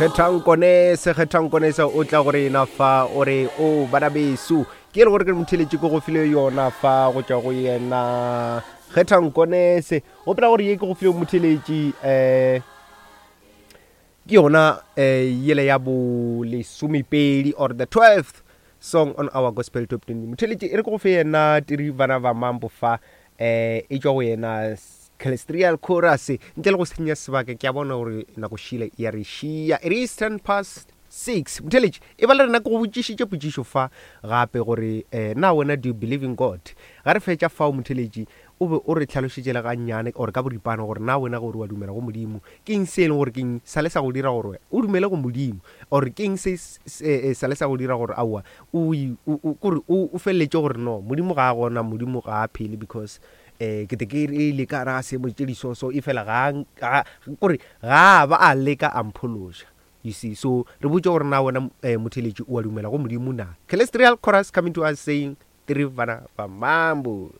Kgethang Konese, Kgethang Konese o tla go rena fa o re o bana beso ke e le gore ke motheletše ke go file yona fa go tšwa go yena Kgethang Konese gopola gore ye ke go file motheletši um ke yona um yele ya bo lesomepedi or the 12th song on our gospel top 20 motheletši e re ke go fe yena tiri bana ba mambo fa um e tšwa go yena Celestrial Chorus ntle le go senya sebaka ke a bona gore nako šile ya re šia it is 10 past 6 motheletši e ba le rena ke go botšišitše potšišo fa gape gore um na wena do you believe in god ga re fetša fao motheletši o be o re tlhalošetše le gannyane or ka boripana gore na wena gore wa dumela go modimo ke eng se e leng gore ke eng sa le sa go dira gore o dumele go modimo or ke eng se sa le sa go dira gore aowa o kore o feleletše gore no modimo ga a gona modimo ga a phele because um ke te ke ile ka gare ga seemo tše di so so efela ga ga kore ga ba a leka a mphološa you see so re botše gore na wena um motheletši o a dumela go modimo na Celestial chorus coming to us saying tiri bana ba mambo.